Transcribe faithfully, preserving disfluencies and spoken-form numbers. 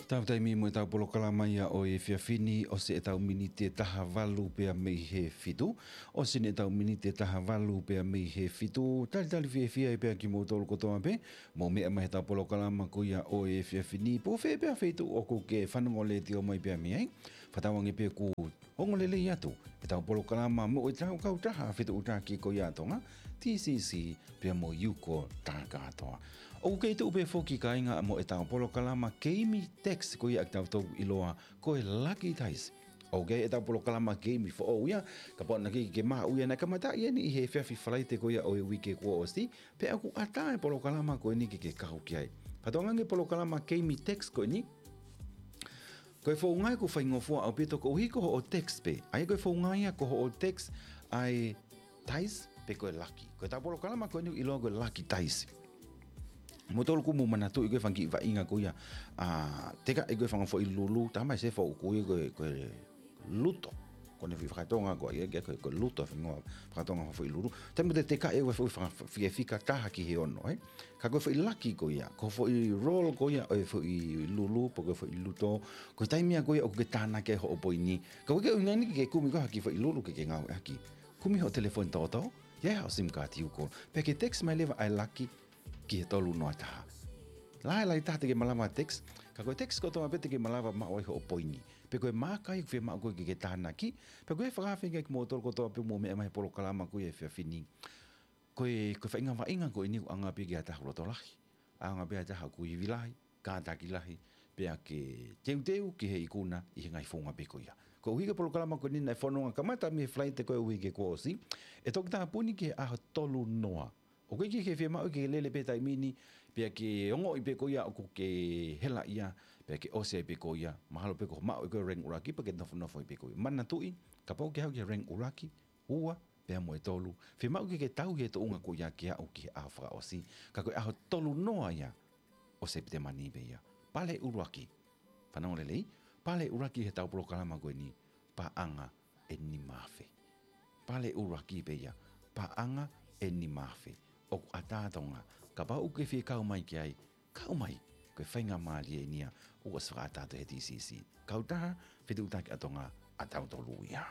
Tau taimi mo ʻetau polokalama ia ʻo e efiafi ni, ʻosi ʻetau miniti ʻe taha valu pea mei he fitu. ʻOsi eni ʻetau miniti ʻe taha valu pea mei he fitu. Talitali fiefia pea kimoutolu kotoa pē, mou meʻa mai heʻetau polokalama ko ia ʻo e efiafi ni. Pe ko fē pē ʻa e feituʻu ʻoku ke fanongo letiō mai pea mei ai. Fakatauange pē ʻoku ongo lelei atu ʻetau polokalama mo ʻetau kautaha fetuʻutaki ko ia ʻa Tonga, T C C, pea mo Yuko Takatoa. ʻOku kei tuʻu pē foki kāinga mo ʻetau polokalama keimi text ko ia ʻa kitautolu ʻiloa ko e Lucky Dice. ʻOku ʻi ai ʻetau polokalama keimi foʻou ia, kapau naʻa ke, ke maʻu ia, naʻe kamata ia eni ʻi he efiafi Falaite ko ia ʻo e uike kuo ʻosi, pea ʻoku ʻatā e polokalama ko eni ke ke kau ki ai. Fakatauange polokalama keimi text ko eni, ko e founga ia ʻoku faingofua ʻaupito koeʻuhi ko hoʻo text pē. ʻA ia ko e founga ia ko hoʻo text ʻa e dice pe ko e laki. Ko ʻetau polokalama ko eni ʻoku ʻiloa ko e Lucky Dice. Moutolu ʻoku mou manatuʻi ko e fanga kiʻi vaʻinga ko ia, ʻa, teka ʻe ko e fanga foʻi lulu, tamai se foʻi kui ko e, ko e luto. Ko ʻene foʻi fakatonga ko ia, ko e, ko e luto, feinga fakatonga foʻi lulu. Taimi te teka ʻe ko e foʻi fanga fie fika taha ki he ono, ē? Ka ko e foʻi laki ko ia, ko e foʻi roll ko ia ʻo e foʻi lulu, pe ko e foʻi luto, ko e taimi ia ko ia ʻoku ke tānaki ai hoʻo poini. Ka ʻoku ʻikai ke ʻuhinga eni ke kumi koe ha kiʻi foʻi lulu ke ke ngāueʻaki. Kumi hoʻo telefoni toto, ʻi ai haʻo sim card ʻoku call. Pea ke text mai leva ʻa e laki ki he tolu noa taha. Lahi lahi taha te ke malava text, ka ko e text kotoa pē te ke malava maʻu ai hoʻo poini. Pe ko e maaka ia ʻoku fiemaʻu koe ke ke tānaki, pea ko e fakafeʻao kimoutolu kotoa pē mou meʻa mai he polokalama ko ia he efiafi ni. Ko e, ko e faʻahinga vaʻinga ko eni ʻoku ʻaonga pē ki ha taha lotolahi. ʻAonga pē ha taha ʻoku ivi lahi, kātaki lahi, pea ke teuteu ki he ikuna ʻi he ngaahi founga pē ko ia. Koeʻuhi ko e polokalama ko eni naʻe fononga kamata mei he Falaite ko e uike kuo ʻosi, ʻe toki tāpuni ki he ʻaho tolu noa. ʻOku ʻikai ke fiemaʻu ke lele pē taimi ni, pea ke ongoʻi pē ko ia ʻoku ke hela ia, pea ke ʻosi ai pē ko ia, mahalo pē ko e maʻu ʻe koe e rank ʻuluaki, pea ke nofonofo ai pē ko ia. Manatuʻi, kapau ʻoku ke haʻu ki he rank ʻuluaki, ua, pea mo e tolu, fiemaʻu ke ke tauhi e tuʻunga ko ia ke aʻu ki he ʻaho fakaʻosi, ka ko e ʻaho tolu noa ia ʻo Sepitema ni pē ia. Pale ʻuluaki. Fanongo lelei, pale ʻuluaki heʻetau polokalama ko eni, paʻanga ʻe nima afe. Pale ʻuluaki pē ia, paʻanga ʻe nima afe. ʻOku ʻatā Tonga, kapau ʻoku ke fie kau mai ki ai, kau mai, ko e faingamālie eni ia ʻoku ʻosi fakaʻatā atu he T C C. Kautaha fetuʻutaki ʻa Tonga ʻatautolu ia.